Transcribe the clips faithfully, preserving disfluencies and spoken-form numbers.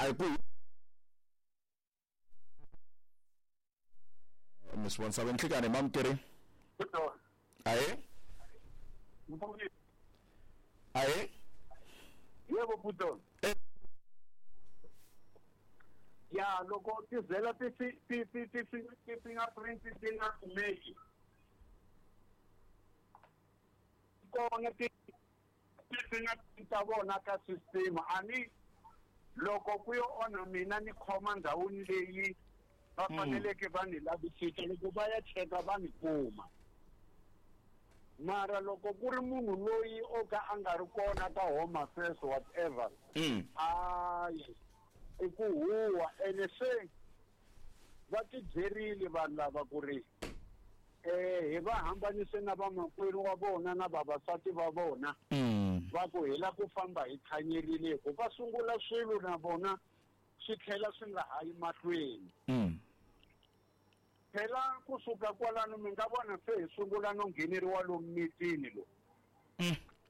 A hi ku Miss Wonsave nhlikani mamukeri. Aye. Aye. Yebo Puton. Ya loko tizela ti ti ti ti ti fingerprint ti nga kumeki. Kona ti ti fingerprint ta vona ka system ani loko ku yo onha mina ni khoma ndhawini leyi va faneleke va ni lavisisa loko va ya cheka va ni kuma. Mara loko ku ri munhu loyi o ka a nga ri kona ka home affairs whatever ayi i ku huwa ene se va tibyerile vanhu lava ku ri eh hi va hambanise na vamakwerhu wa vona na vavasati va vona va ku hi la ku famba hi thanyerile ku va sungula swilo na vona swi tlhela swi nga hayi mahlweni. Phela kusuka kwalano mi nga vona se hi sungula no ngheneriwa lomu mitini lo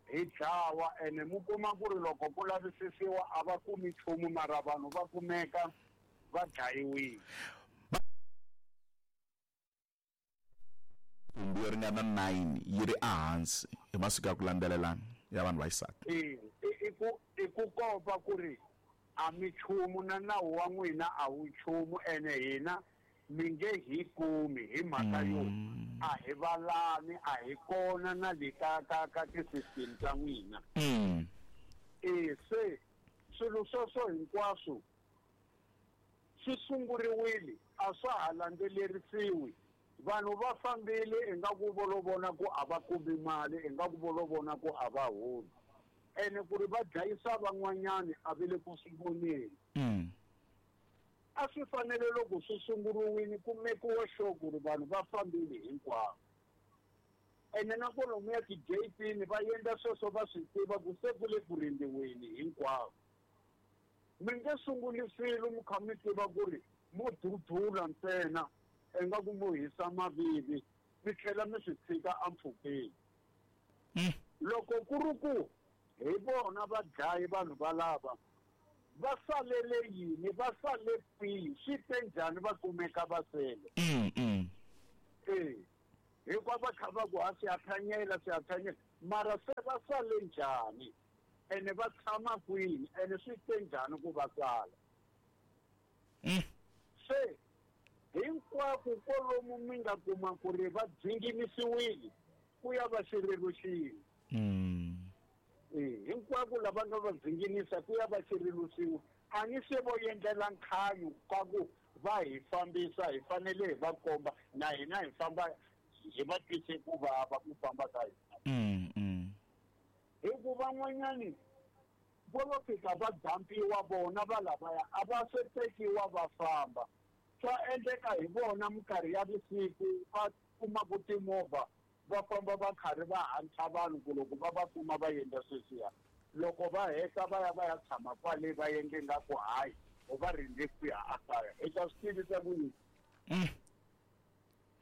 hi dlawa ene mu kuma ku ri loko ku lavisisiwa a va kumi nchumu mara vanhu va kumeka va dlayiwile. Kumbe yo ringana nine yi ri ehansi hi masiku ya ku landzelelana ya vanhu va xisati. E i ku i ku komba ku ri a mi nchumu na nawu wa n'wina a wu nchumu ene hina mi nge hi kumi hi mhaka yo a hi valani a hi kona na le ka ka ka ti-system ta n'wina. E se swilo sweswo hinkwaswo swi sunguriwile a swa ha landzelerisiwi. Vanhu va fambile ingaku vo lo vona ku a va kumi mali ingaku vo lo vona ku a va holi ene ku ri va dlayisa van'wanyani a va le ku swi voneni. A swi fanele loko swi sunguriwile ku mekiwa sure ku ri vanhu va fambile hinkwavo. Ene na kwalomuya ti-gate-ini va endla sweswo va swi tiva ku se ku le ku rindziweni hinkwavo. Mi nge sunguli swilo mi kha mi tiva ku ri mo dudula ntsena ingaku mo hisa mavivi mi tlhela mi swi tshika empfhukeni. Loko ku ri ku hi vona vadlayi vanhu valava va salele yini va sale kwihi swi te njhani va kumeka va sele. E hikuva va kha va ku ha swi ya thanyela swi ya thanyela mara se va sale njhani ene va tshama kwini ene swi te njhani ku va sala. Se hinkwako kwalomu mi nga kuma ku ri va dzinginisiwile ku ya va xirilo xin'we. Hinkwako lava nga va dzinginisa ku ya va xirilo xin'we a ni se vo endlela nkhanyu ka ku va hi fambisa hi fanele hi va komba na hina hi famba hi va twise ku vava ku famba ka hina. Hi ku van'wanyani vo lo fika va dampiwa vona va lavaya a va se tekiwa va famba. Swa endleka hi vona minkarhi ya vusiku va kuma ku timovha va famba va karhi va hantla vanhu ku loko va va kuma va endla sweswiya loko va heta va ya va ya tshama kwale va endle nga ku hayi o va rindze ku ya ekaya i ta swi tivisa ku yini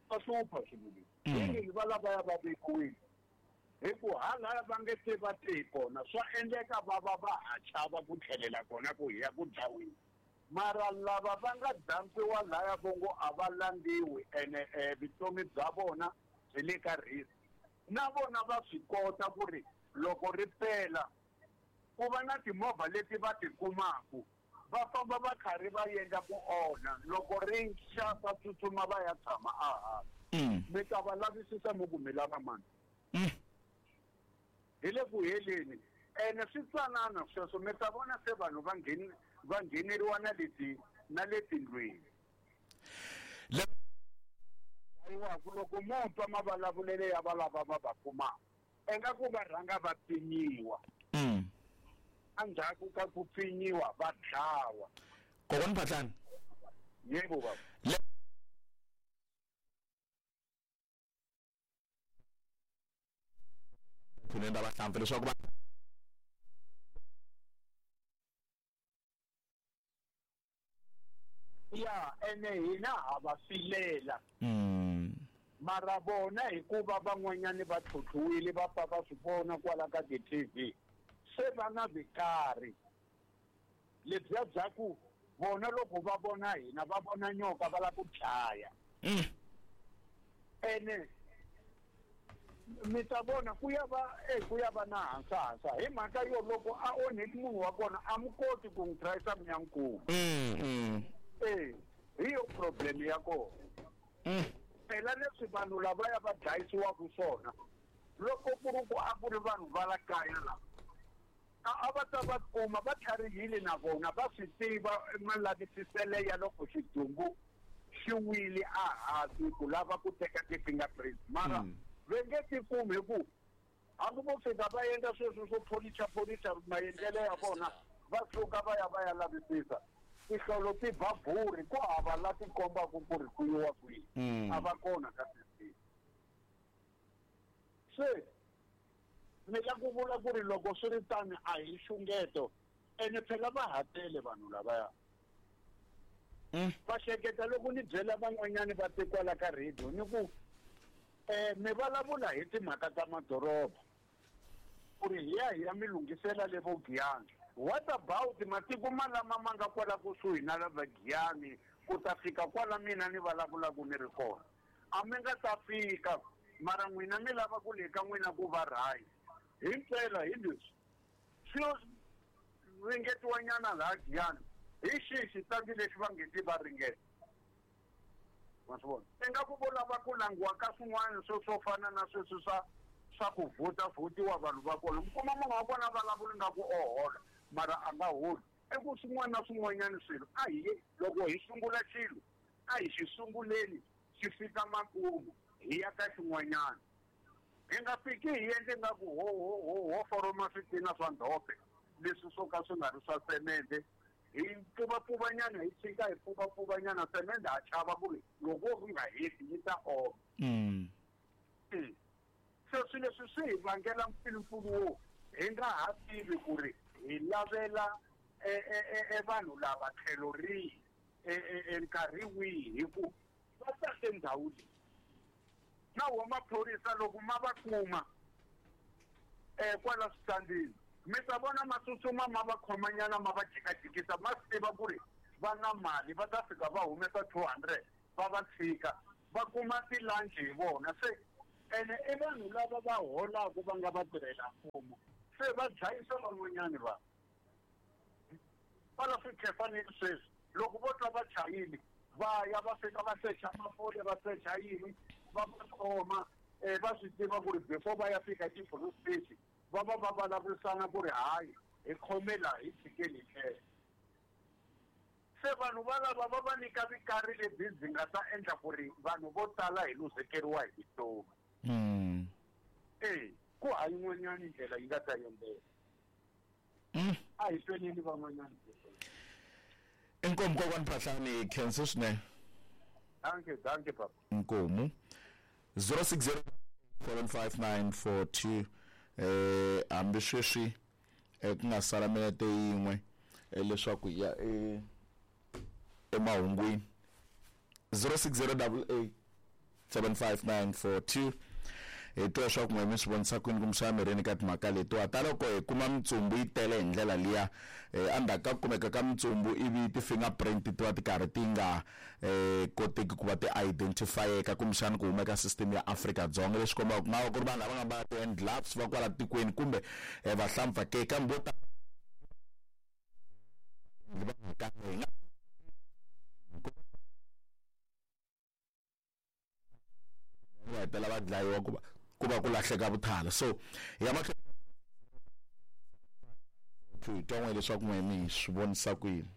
va hlupha swilo leswi va lavaya va vekiwile hi ku halaya va nge se va te kona swa endleka va va va ha chava ku tlhelela kona ku hi ya ku dlaweni. Mara lava va nga dampiwa laya vongo a va landziwi ene vutomi bya vona byi le ka risk na vona va swi kota ku ri loko ri pela ku va na timovha leti va ti kumaku va famba va karhi va endla ku onha loko ri xa va tsutsuma va ya tshama ehansi. Mi ta va lavisisa mi ku mi lava mani hi le ku heleni ene swi tsanana sweswo mi ta vona se vanhu va ngheni va ngheneriwa na le ti na le tindlwini. Dlayiwaku loko mo twa mavulavulelo ya valava va va kumaka ingaku va rhanga va pfinyiwa endzhaku ka ku pfinyiwa va dlawa. Kokwani Phahlane. Yebo baba. Ra vahlampfa leswaku va ya ene hina ha va filela mara vona hikuva van'wanyani va tlhotlhiwile va pfa va swi vona kwala ka ti-T V se va na vikari Lebyiya bya ku vona loko va vona hina va vona nyoka va lava ku dlaya. Ene mi ta vona ku ya va e ku ya va na hansahansa hi mhaka yo loko a onheki munhu wa kona a mi koti ku n'wi trayisa mi ya n'wi kuma. E hi yo problem ya kona. Phela leswi vanhu lavaya va dlayisiwaka swona loko ku ri ku a ku ri vanhu va la kaya lava a va ta va kuma va tlharihile na vona va swi tiva malavisisele ya loko xidumbu xi wile a hansi ku lava ku teka ti-fingerprints mara va nge ti kumi hi ku hambi vo fika va endla sweswo swo pholicha pholicha maendlelo ya vona va suka va ya va ya lavisisa tihlolo ti ba buri ku hava la ti kombaka ku ri ku yiwa kwihi a va kona ka system. Se ni la ku vula ku ri loko swi ri tani a hi xungeto ene phela va ha tele vanhu lavaya. Va hleketa loko ni byela van'wanyani va te kwala ka radio ni ku um mi vulavula hi timhaka ta madoroba ku ri hi ya hi ya mi lunghisela le vo Giyani. What about matiko malama ma nga kwala kusuhi na lava Giyani ku ta fika kwala mina ni vulavulaka ni ri kona? A mi nga ta fika mara n'wina mi lava ku le ka n'wina ku va right. Himpela hi leswi swi ringetiwanyana laha Giyani hi xihi xitandi lexi va nge ti va ringeta? Ma swi vona ingaku vo lava ku langiwa ka swin'wana swo swo fana na sweswi swa swa ku vhota vhotiwa vanhu va kona. Mi kuma munhu wa kona vulavula nga ku o hola mara a nga holi. I ku swin'wana na swin'wanyana swilo a hi loko hi sungula xilo a hi xi sunguleni xi fika makumu hi ya ka xin'wanyana. Hi nga fiki hi endle nga ku ho ho ho ho foroma switina swa ndhope leswi swo ka swi nga ri swa semende hi pfuvapfuvanyana hi tshika hi pfuvapfuvanyana semende ha chava ku ri loko ku nga heti yi ta oma. Se swilo leswi swi hi vangela mpfilumpfilu wo hi nga ha tivi ku ri hi lavela e vanhu lava tlhelo rihi e nkarhi wihi hi ku va tate ndhawu leyi. Na wo maphorisa loko ma va kuma um kwala switandini mi ta vona ma tsutsuma ma va khomanyana ma va jikajikisa ma swi tiva ku ri va na mali va ta fika va humesa two hundred va va tshika va kuma ti-lunch hi vona. Se ene i vanhu lava va holaka va nga va tirhela mfumo se va dlayisa van'wanyani vanhu kwala swikhefanini sweswi loko vo twa va chayile va ya va fika va secha mafole va secha yini va va khoma um va swi tiva ku ri before va ya fika ti-police station va va va vulavurisana ku ri hayi hi khome laha hi tshikeni hi tlhela. Se vanhu valava va va nyika vikari lebyi byi nga ta endla ku ri vanhu vo tala hi luzekeriwa hi vutomi. E ku ha yin'wanyani ndlela yi nga ta endleka. A hi tweneni van'wanyani. Inkomu kokwani Phahlane, khensa swinene. Dankie, dankie papa. Inkomu zero six zero seven five nine four two eh hambi sweswi ku nga sala minete yin'we leswaku hi ya e emahungwini. Zero six zero double eight seven five nine four two hi twa leswaku n'we mi swi vonisa kwini kumbexana mirini ka timhaka letiwa ta loko hi kuma mitsumbu yi tele hi ndlela liya endzhaku ka ku kumeka ka mitsumbu ivi ti-fingerprint ti va ti karhi ti nga koteki ku va ti identifyeka kumbexana ku huma eka system ya Afrika-Dzonga leswi kombaka ku nga va ku ri vanhu lava nga mbala ti-hand gloves va kwala tikweni kumbe vahlampfa ke kambe vo tala hi nga va hetelela va dlayiwa ku va ku va ku lahleka vuthala. So hi ya mahlweni hi twa n'we leswaku n'we mi swi vonisa ku yini.